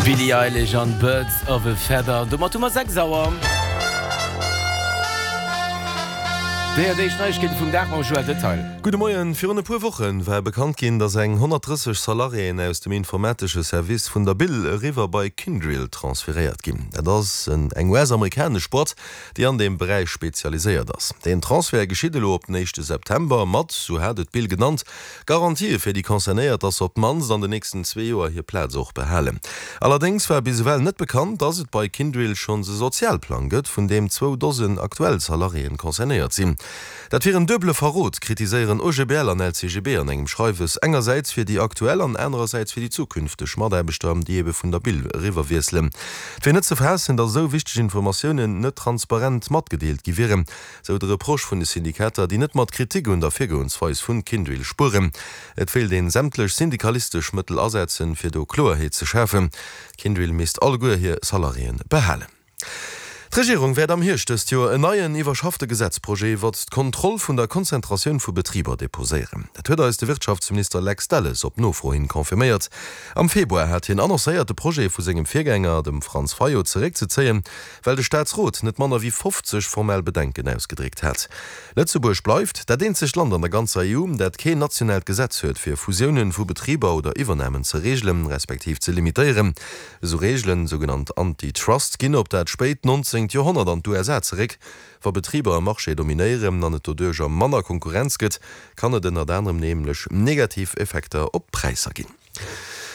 Billie Eilish an Birds of a Feather. Domat hu mer 6 Auer. Déi an éischt Neiegkeete vum Dag mam Joël Detail. Gudde Moien. Virun e puer Woche war bekannt ginn, datt eng 130 Salariéen aus dem informatesche Service vun der Bill eriwwer bei Kyndryl transferéiert ginn. Dat ass eng US-amerikanesch Boîte, déi an deem Beräich spezialiséiert ass. Deen Transfert geschitt elo op den éischte September, mat, sou hat et d'Bill genannt, Garantië fir déi Concernéiert, dass se op d'mannst an den nächsten zwee Joer hir Plaz och behalen. Allerdéngs war bis ewell net bekannt, dass et bei Kyndryl schonns e Sozialplang gëtt, vun deem zwou Dosen aktuell Salariéen concernéiert sinn. Dat wier en duebele Verrot, kritiséieren OGBL an LCGB an engem Schreiwes, engersäits fir déi aktuell an anerersäits fir déi zukünfteg Mataarbechter, déi ebe vun der Bill eriwwerwiesselen. Et wier net ze faassen, datt esou wichteg Informatiounen net transparent matgedeelt gi wieren, sou de Reproche vun de Syndikater, déi net mat Kritik un der Virgoensweis vun Kyndryl spueren. Et wéilt een sämtlech syndikalistesch Mëttel asetzen, fir do Kloerheet ze schafen. Kyndryl misst alleguer hir Salariéen behalen. D'Regierung wäert am Hierscht dëst Joer en neien, iwwerschaffte Gesetzprojet iwwert d'Kontroll vun der Konzentratioun vu Betriber deposéieren. Dat huet eis de Wirtschaftsminister Lex Delles op Nofro hin confirméiert. Am Februar hat hien annoncéiert, de Projet vu sengem Virgänger, dem Franz Fayot, zeréckzezéien, well de Staatsrot net manner wéi 50 formell Bedenken ausgedréckt hat. Lëtzebuerg bleift dat eenzegt Land an der ganzer EU, dat keen nationaalt Gesetz huet, fir Fusiounen vu Betriber oder Iwwernamen ze reegelen, respektiv ze limitéieren. Esou Reegelen, sougenannt Anti-Trust, ginn op dat spéit 19. Joerhonnert an d'USA zeréck. Wa Betriber e Marché dominéieren an et doduercher manner Konkurrenz gëtt, kann et ënnert anerem nämlech negativ Effekter op d'Präisser ginn.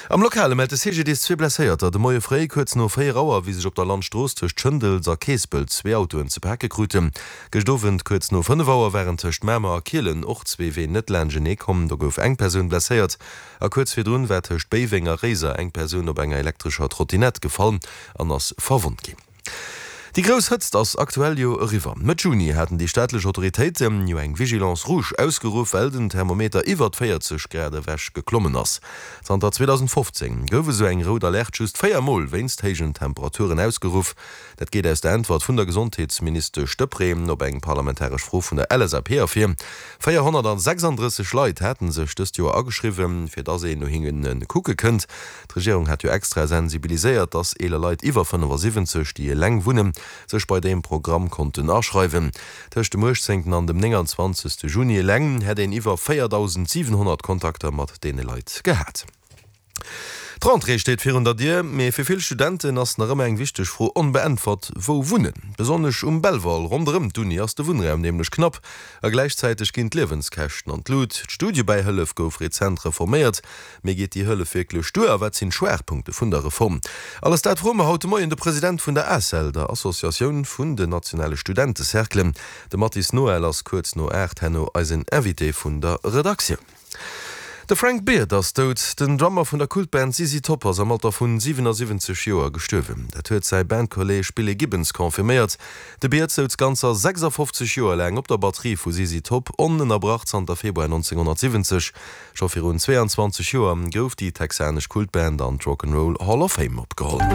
Am Lokale mellt de CGDIS zwee Blesséierter de Moie fréi kuerz no 4 Auer, wéi sech op der Landstrooss tëscht Schëndels a Keespelt zwee Autoen ze pake kruten. Gëscht Owend kuerz no 5 Auer waren tëscht Mamer a Kielen och zwee Ween net laanschenee komm. Do gouf eng Persoun blesséiert a kuerz virdrun war tëscht Béiweng a Réiser eng Persoun op enger elektrescher Trottinett gefall an ass verwonnt ginn. Déi grouss Hëtzt ass aktuell jo eriwwer. Mëtt Juni haten déi staatlech Autoritéite jo eng Vigilance rouge ausgeruff, well den Thermometer iwwert 40 Grad ewech geklommen ass. Zanter 2015 gouf esou eng rout Alerte just 4 Mol wéinst héijen Temperaturen ausgeruff. Dat geet aus der Äntwert vun der Gesondheetsministesch Deprez op eng parlamentaresch Fro vun der LSAP ervir. 436 Leit haten sech dëst Joer ageschriwwen, fir dass een no hinne kucke kënnt. D'Regierung hat jo extra sensibiliséiert, dass eeler Leit iwwer 75, déi eleng wunnen, sech bei deem Programm konnten aschreiwen. Tëscht dem 18 an dem 29 Juni eleng hätt een iwwer 4.700 Kontakter mat deene Leit gehat. D'Rentrée steet virun der Dier, mee fir vill Studenten ass nach ëmmer eng wichteg Fro onbeäntwert, Wou wunnen? Besonnesch um Belval ronderëm d'Uni ass de Wunnraum nämlech knapp a gläichzäiteg ginn d'Liewenskäschten an d'Lut. D'Studiebäihëllef gouf rezent reforméiert, Mee geet déi Hëllef wierklech duer a wat sinn d'Schwaachpunkte vun der Reform? Alles dat froe mer haut de Moien de President vun der ACEL, der Associatioun vun den nationale Studentecerclen. De Mathis Noël ass kuerz no 8 herno eisen Invité vun der Redaktioun. De Frank Beard ass dout. Den Drummer vun der Kultband ZZ Top ass am Alter vun 77 Joer gestuerwen. Dat huet säi Bandkolleeg Billy Gibbons confirméiert. De Beard souz ganzer 56 Joer laang op der Batterie vu ZZ Top, onënnerbrach zanter Februar 1970. Scho virun 22 Joer gouf déi texanesch Kultband an d'Rock 'n' Roll Hall of Fame opgeholl.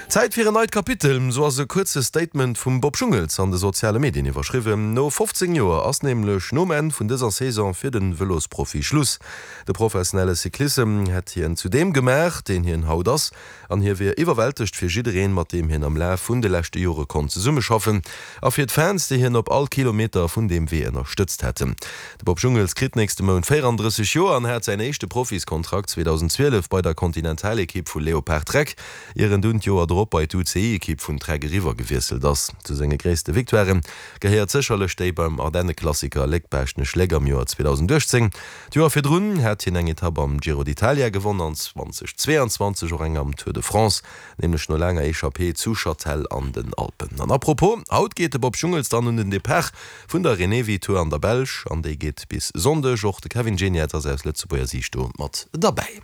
Zäit fir en neit Kapitel, sou ass e kuerze Statement vum Bob Jungels an de soziale Medien iwwerschriwwen. No 15 Joer ass nämlech nom Enn vun dëser Saison fir de Vëlosprofi Schluss. De professionelle Cyclissem hätt hien zu deem gemaach, deen hien haut ass. An hie wier iwwerwältegt fir jiddereen, mat deem hien am Laf vun de leschte Jore konnt zesummeschaffen, a fir d'Fans, déi hien op all Kilometer vun deem Wee ënnerstëtzt hätten. De Bob Jungels kritt nächste Mount 34 Joer an hat säin éischte Profiskontrakt 2012 bei der Continentalekipp vu Leopard Trek, ier en dunn d'Joer drop bei d'UCI-Ekipp vun Trek eriwwer gewiesselt ass. Zu senge gréisste Victoiren gehéiert sécherlech déi beim Ardenneklassiker Léck-Baaschtnech-Léck am Joer 2018. D'Joer virdrun hat hien eng Etapp am Giro d'Italia gewonn an 2022 och eng am Tour de France, nämlech no laanger Echappée zu Châtel an den Alpen. An apropos, haut geet de Bob Jungels dann un den Depart vun der Renewi Tour an der Belsch an déi geet bis Sonndeg. Och de Kevin Geniets ass aus Lëtzebuerger Siicht do mat derbäi.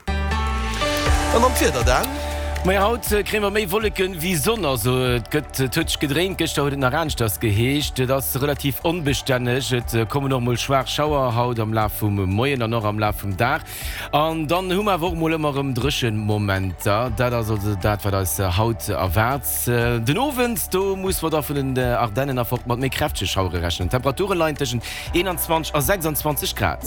An dann d'Wieder, Dan. Majo, haut kréie mer méi Wolleken wéi Sonn, also et gëtt, et huet sech gedréint. Gëschter huet et nach aneschters geheescht. Et ass relativ onbestänneg, et kommen och mol schwaach Schauer haut am Laf vum Moien an och am Laf vum Dag. An dann hu mer awer och mol ëmmer erëm dréchen Momenter. Dat ass also dat, wat eis haut erwaart. Den Owend, do musse mer da vun den Ardennen erfort mat méi kräftege Schauere rechnen. D'Temperature leien tëschent 21 a 26 Grad.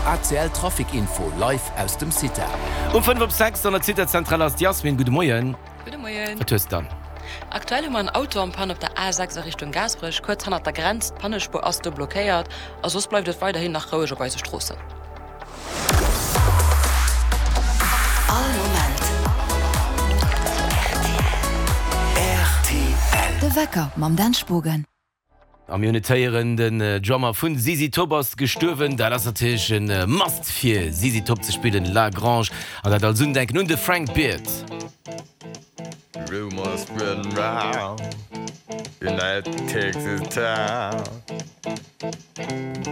ACL Trafic Info live aus dem CITA. Um 5 op 6 an der CITA-Zentral ass d'Yasmin. Gudde Moien. Gudde Moien. Wat hues de dann? Aktuell hu mer en Auto en Panne op der A6 a Richtung Gaasperech, kuerz hannert der Grenz. D'Pannespuer ass do blockéiert a soss bleift et weiderhin nach roueg op eise Stroossen. All Moment rtl. De Wecker mam Dan Spogen. A mir hunn et héieren, den Drummer vun ZZ Top ass gestuerwen. Dat ass natierlech e Must fir ZZ Top ze spillen, La Grange. An dat als Undenken un de Frank Beard. Rumors spreading round in that Texas town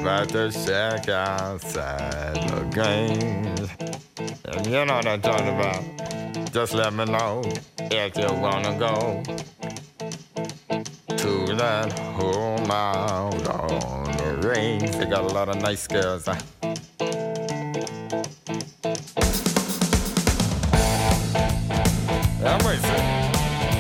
'bout the shack outside La Grange. And you know what I'm talking about. Just let me know if you wanna go to that home out on the range. They got a lot of nice girls.